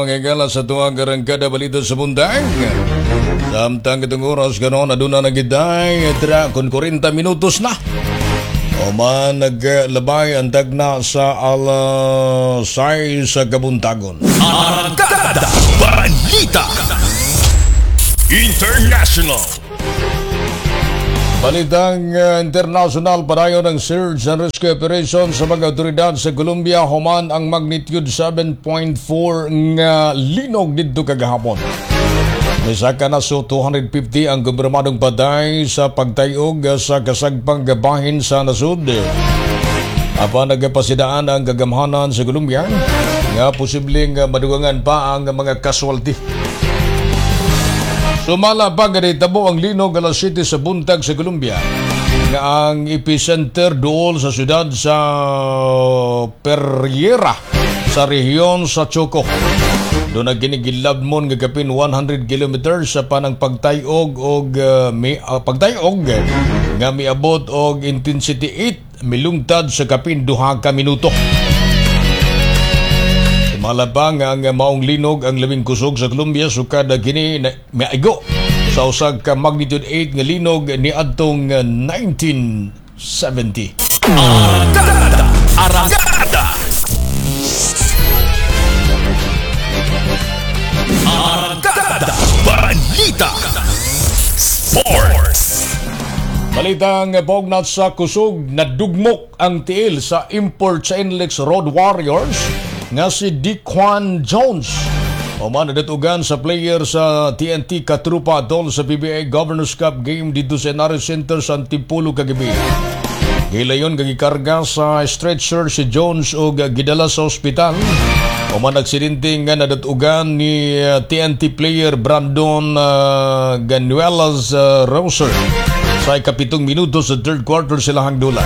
Mga higala sa tuwang arangkada balita sa buntag. Samtang itong oras karon, aduna na gitay tra kun 40 minutos na. O man naglabay ang tagna sa alas 6 sa kabuntagon. Arangkada Balita International. Balitang international, padayon ang search and rescue operation sa mga otoridad sa Colombia human ang magnitude 7.4 nga linog didto kagahapon. Misaka na so 250 ang kumpirmadong patay sa pagtayog sa kasagpang gabahin sa nasud. Apan nagpasidaan ang kagamhanan sa Colombia nga posibleng madugangan pa ang mga casualty. Sumala pa ganitabo ang linog alas 7 sa buntag sa Colombia nga ang epicenter duol sa syudad sa Pereira sa rehiyon sa Choco. Duna kini gilabmon nga kapin 100 kilometers sa panang pagtayog og pagtayog nga miabot og intensity 8 milungtad sa kapin 2 ka minuto. Sumala pa nga ang maong linog ang labing kusog sa Colombia sukad kini na miaigo sa usag ka magnitude 8 nga linog ni adtong 1970. Arangkada Arangkada Arangkada Balita Sports. Balitang pognat sa kusog, nadugmok ang tiil sa import sa NLEX Road Warriors nga si Dequan Jones. Human nadatugan sa player sa TNT Katrupa atol sa PBA Governors Cup game dito sa NRS Center sa Antipolo kagabi. Gilayon gikarga sa stretcher si Jones og gidala sa ospital. Human aksidente nga nadatugan ni TNT player Brandon Ganuelas Rosser sa 7th minuto sa third quarter sila dula.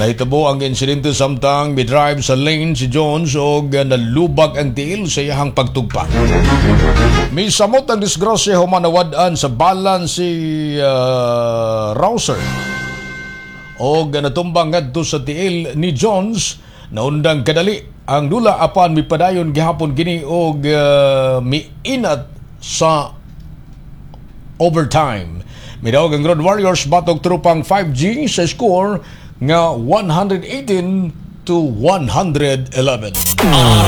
Nahitabo ang insidente samtang midrive sa lane si Jones og nalubag ang tiil sa iyahang pagtugpa. Misamot ang disgrasya human nawad-an sa balan si Rouser og natumbang ngadto sa tiil ni Jones. Naundang kadali ang dula apan mipadayon gihapon kini og miinat sa overtime. Midaog ang Road Warriors batok tropang 5G sa score nga 118-111.